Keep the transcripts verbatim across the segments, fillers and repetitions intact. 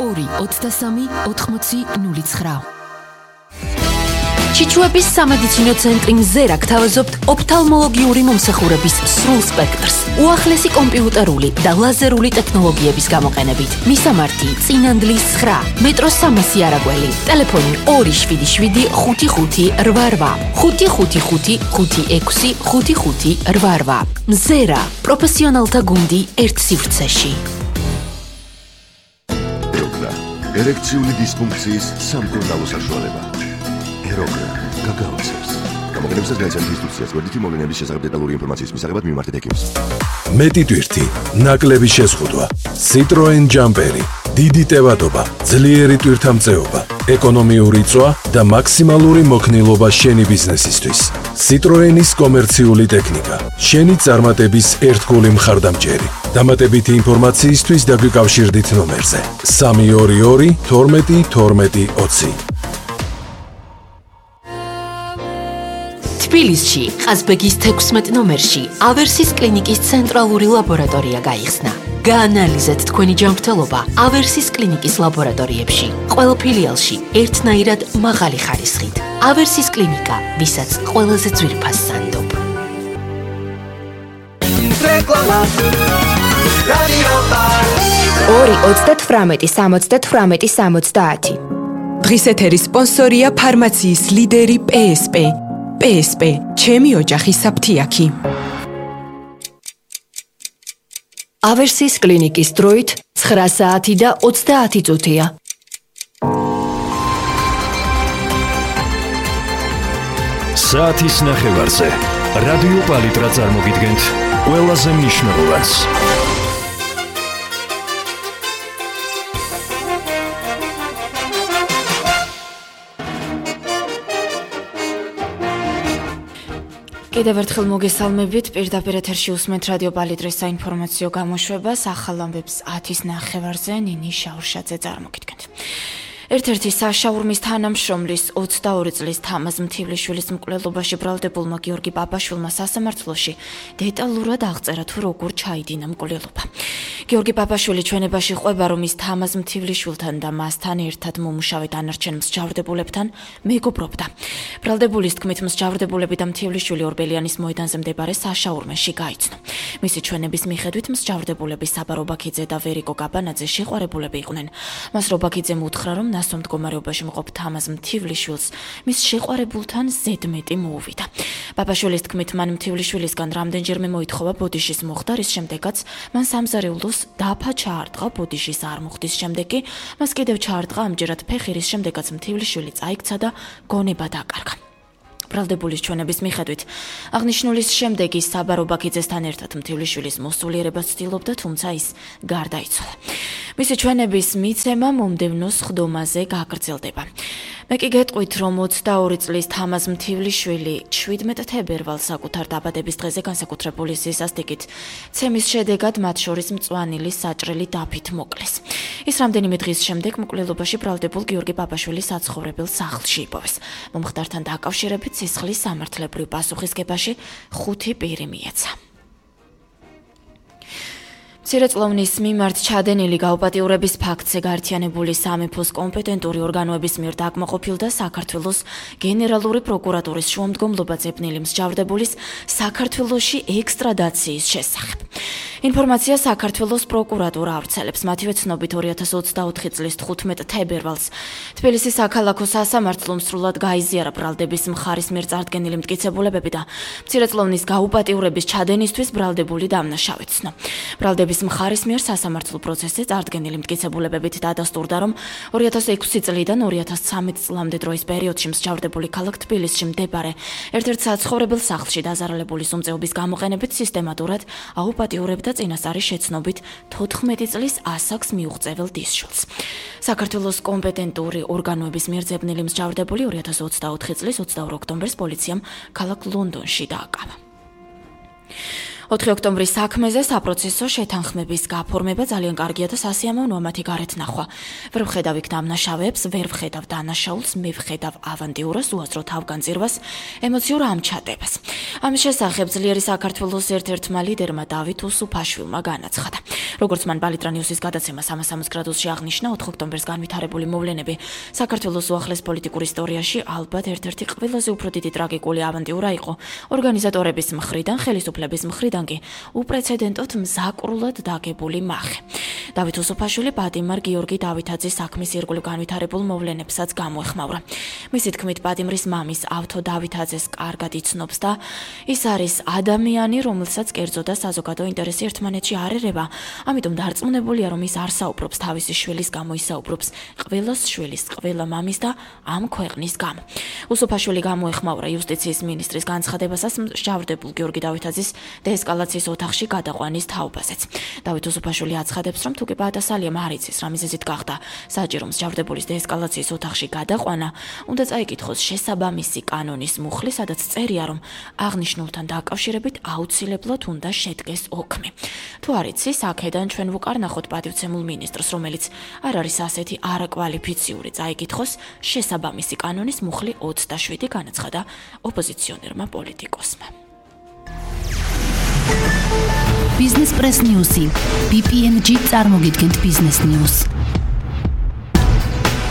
ორი ოცდასამი ოთხმოცი ნული ცხრა. ჩიჩუების სამედიცინო ცენტრი მზერა გთავაზობთ ოფთალმოლოგიური მომსახურების სრულ სპექტრს, უახლესი კომპიუტერული და ლაზერული ტექნოლოგიების გამოყენებით. მისამართი წინანდლის ცხრა, მეტროს სამასი არაგველი, ტელეფონი ორი შვიდი შვიდი ხუთი ხუთი რვა რვა, ხუთი ხუთი ხუთი ხუთი ექვსი ხუთი ხუთი რვა რვა. მზერა, პროფესიონალთა გუნდი ერთ სივრცეში. ერექციული დისფუნქციის სამკურნალო საშუალება. ეროგრა გაგაოცებს. გამოყენებისას განიცადეთ ინსტრუქციას გვერდითი მოვლენების შესახებ დეტალური ინფორმაციის მისაღებად მიმართეთ ექიმს. მეტი ტვირთი, ნაკლები შეზღუდვა, Citroen ჯამპერი, დიდი ტევადობა, ძლიერი ტვირთამწეობა, ეკონომიური წვა და მაქსიმალური მოქნილობა შენი ბიზნესისთვის. Citroenis კომერციული ტექნიკა, შენი წარმატების ერთგული მხარდამჭერი. დამატებითი ინფორმაციისთვის დაგვიკავშირდით ნომერზე სამი ორი ორი თორმეტი თორმეტი ოცი. თბილისში, ყაზბეგის თექვსმეტ ნომერში, ავერსის კლინიკის ცენტრალური ლაბორატორია გაიხსნა. გაანალიზეთ თქვენი ჯანმრთელობა ავერსის კლინიკის ლაბორატორიებში. ყველა ფილიალში ერთნაირად მაღალი ხარისხით. ავერსის კლინიკა, ვისაც ყველაზე ძვირფას სანდობ. ორი ოცდათვრამეტი სამოცდათვრამეტი სამოცდაათი. დღის ეთერის სპონსორია ფარმაციის ლიდერი პე ეს პე. პე ეს პე, ჩემი ოჯახის საფთიაქი. ავერსის კლინიკის დროით ცხრა საათი და ოცდაათი წუთია. საათის ნახევარზე რადიო პალიტრა წარმოგიდგენთ ყველაზე მნიშვნელოვანს. კიდევ ერთხელ მოგესალმებით, პირდაპირ ეთერში უსმენთ რადიო პალიტრის საინფორმაციო გამოშვებას, ახალ ამბებს ათის ნახევარზე ნინი შაურშაძე წარმოგიდგენთ. ერთ-ერთი საშაურმის თანამშრომლის ოცდაორი წლის თამაზ მთივლიშვილის მკვლელობაში ბრალდებულმა გიორგი პაპაშვილმა სასამართლოში დეტალურად აღწერა თუ როგორ ჩაიდინა მკვლელობა. გიორგი პაპაშვილი ჩვენებაში ყვება, რომ ის თამაზ მთივლიშვილთან და მასთან ერთად მომუშავე დანარჩენ მსჯავრდებულებთან მეგობრობდა. ბრალდებულის თქმით, მსჯავრდებულები და მთივლიშვილი ორბელიანის მოედანზე მდებარე საშაურმეში გაიცნო. მისი ჩვენების მიხედვით მსჯავრდებულები საბა რობაქიძე და ვერიკო კაბანაძე შეყვარებულები იყვნენ. მას რობაქიძემ უთხრა, რომ ნასო მდგომარეობაში მყოფ თამაზ მთივლიშვილს მის შეყვარებულთან ზედმეტი მოუვიდა. პაპაშვილის თქმით, მან მთივლიშვილისგან რამდენჯერმე მოითხოვა ბოდიშის მოხდა, რის შემდეგაც მან სამზარეულოს დაფა ჩაარტყა, ბოდიშის არ მოხდის შემდეგ კი მას კიდევ ჩაარტყა ამჯერად ფეხი, რის შემდეგაც მთივლიშვილი წაიქცა და გონება დაკარგა. ბრალდებულის ჩვენების მიხედვით, აღნიშნულის შემდეგ ის საბა რობაქიძესთან ერთად მთივლიშვილის მოსულიერებას ცდილობდა, თუმცა ის გარდაიცვალა. მისი ჩვენების მიცემა მომდევნო სხდომაზე გაგრძელდება. მე კი გეტყვით, რომ ოცდაორი წლის თამაზ მთივლიშვილი შვიდმეტ თებერვალს საკუთარ დაბადების დღეზე განსაკუთრებული სისასტიკით ცემის შედეგად მათ შორის მწვანილი საჭრელი დაფით მოკლეს. ის რამდენიმე დღის შემდეგ მკვლელობაში ბრალდებულ გიორგი პაპაშვილის საცხოვრებელ სახლში იპოვეს. მომხდართან დაკავშირებით სისხლის სამართლებრივ პასუხისგებაში ხუთი პირი მიეცა. მცირეწლოვნის მიმართ ჩადენილი გაუპატიურების ფაქტზე გაერთიანებული სამეფოს კომპეტენტური ორგანოების მიერ დაკმაყოფილდა საქართველოს გენერალური პროკურატურის შუამდგომლობა ძებნილი მსჯავრდებულის საქართველოში ექსტრადაციის შესახებ. ინფორმაცია საქართველოს პროკურატურა ავრცელებს. მათივე ცნობით ორი ათას ოცდაოთხი წლის თხუთმეტ თებერვალს თბილისის საქალაქო სასამართლომ სრულად გაიზიარა ბრალდების მხარის მიერ წარდგენილი მტკიცებულებები და მცირეწლოვნის გაუპატიურების ჩადენისთვის ბრალდებული დამნაშავეცნო. ბრალდების მხარის მიერ სასამართლო პროცესზე წარდგენილი მტკიცებულებებით დადასტურდა, რომ ორი ათას ექვსი წლიდან ორი ათას ცხრამეტ წლამდე დროის პერიოდში მსჯავრდებული ქალაქ თბილისში მდებარე ერთ-ერთ საცხოვრებელ სახლში დაზარალებული სუმწეობის გამოყენებით სისტემატურად აუპატიურებდა წინასწარი შეცნობით თოთხმეტი წლის ასაკს მიუღწეվել დისშულს. საქართველოს კომპეტენტური ორგანოების მიერ ძებნილი მსჯავრდებული ორი ათას ოცდაოთხი წლის ოცდაორი ოქტომბერს პოლიციამ ქალაქ ლონდონში დააკავა. ოთხი ოქტომბრის საქმეზე საპროცესო შეთანხმების გაფორმება ძალიან კარგია და სასიამოვნოა მათი გარეთ ნახვა. ვერ ვხედავ იქ დამნაშავეებს, ვერ ვხედავ დანაშაულს, მე ვხედავ ავანტიურას, უაზრო თავგანწირვას, ემოციურ ამჩატებას. ამის შესახებ ძლიერი საქართველოს ერთ-ერთმა ლიდერმა დავით უსუფაშვილმა განაცხადა. როგორც მან ბალიტრანიუსის გადაცემა სამას სამოცდაოთხ გრადუსში აღნიშნა, ოთხი ოქტომბერს განვითარებული მოვლენები საქართველოს უახლეს პოლიტიკურ ისტორიაში ალბათ ერთ-ერთი ყველაზე უფრო დიდი ტრაგიკული ავანტიურა იყო ორგანიზატორების მხრიდან, ხელისუფლების მხრიდან კი უპრეცედენტოდ მზაკრულად დაგებული მახე. დავით უსუფაშვილი პატიმარ გიორგი დავითაძის საქმის ირგვლივ განვითარებულ მოვლენებსაც გამოეხმაურა. მისი თქმით, პატიმრის მამის ავთო დავითაძეს კარგად იცნობს და ის არის ადამიანი, რომელსაც კერძო და საზოგადო ინტერესი ერთმანეთში არ ერევა. ამიტომ დარწმუნებულია, რომ ის არ საუბრობს თავისი შვილის გამო, ის საუბრობს ყველას შვილის, ყველა მამის და ამ ქვეყნის გამო. უსუფაშვილი გამოეხმაურა იუსტიციის მინისტრის განცხადებასაც მსჯავრდებულ გიორგი დავითაძის დეესკალაციის ოთახში გადაყვანის თაობაზეც. დავით უსუფაშვილი აცხადებს, რომ თუ კი პატასალიამ არ იცის, რა მიზეზით გახდა საჭირო მსჯავრდებულის დეესკალაციის ოთახში გადაყვანა, უნდა წაიკითხოს შესაბამისი კანონის მუხლი, სადაც წერია, რომ აღნიშნულთან დაკავშირებით აუცილებლად უნდა შედგეს ოქმი. თუ არ იცის, აქედან ჩვენ ვუკარნახოთ პატივცემულ მინისტრს, რომელიც არ არის ასეთი არაკვალიფიციური, წაიკითხოს შესაბამისი კანონის მუხლი ოცდაშვიდი, განაცხადა ოპოზიციონერმა პოლიტიკოსმა. Business Press News-ი ბი პი ენ ჯი წარმოგიდგენთ Business News.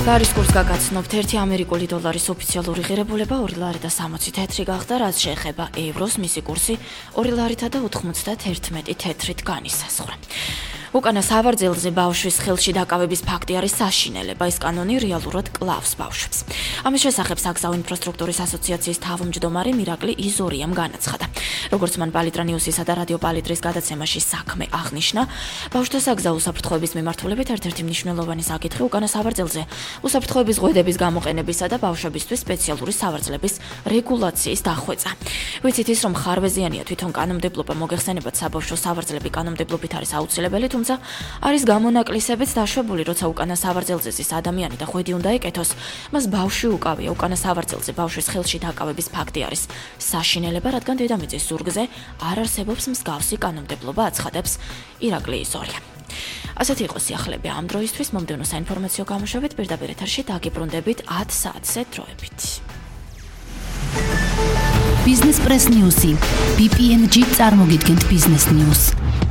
ლარის კურსს გაგაცნობთ, ერთი ამერიკული დოლარის ოფიციალური ღირებულება ორი ლარი და სამოცი თეთრი გახდა, რაც შეეხება ევროს, მისი კურსი ორი ლარითა და ოთხმოცდაერთმეტი თეთრით განისაზღვრა. უკანა სავარძელზე ბავშვის ხელში დაკავების ფაქტი არის საშინელება, ეს კანონი რეალურად კლავს ბავშვებს. ამის შესახებ საგზაო ინფრასტრუქტურის ასოციაციის თავმჯდომარე მირაკლი იზორიამ განაცხადა. როგორც მან ბალიტრანიუსისა და რადიო ბალიტრის გადაცემაში საქმე აღნიშნა, ბავშვთა საგზაო უსაფრთხოების მიმართულებით ერთ-ერთი მნიშვნელოვანი საკითხი უკანა სავარძელზე უსაფრთხოების ღვედების გამოყენებისა და ბავშვებისთვის სპეციალური სავარძლების რეგულაციის დახვეწა. ვიცით ის, რომ ხარვეზიანია თვითონ კანონმდებლობა, მოგეხსენებათ, საბავშვო სავარძლები კანონმდებლობით არის აუცილებელი, თუმცა არის გამონაკლისებიც დაშვებული, როცა უკანა სავარძელზე ზის ადამიანი და ღვედი უნდა ეკეთოს, მას ბავშვი უკავია. უკანა სავარძელზე ბავშვის ხელში დაკავების ფაქტი არის საშინელება, რადგან დედამიწის ზურგზე არ არსებობს მსგავსი კანონმდებლობა, აცხადებს ირაკლი იზორია. ასეთი იყო სიახლეები ამ დროისთვის, მომდევნო საინფორმაციო გამოშვებით პირდაპირ ეთერში დაგიბრუნდებით ათ საათზე დროებით. Business Press News-ი ბი პი ენ ჯი წარმოგიდგენთ Business News.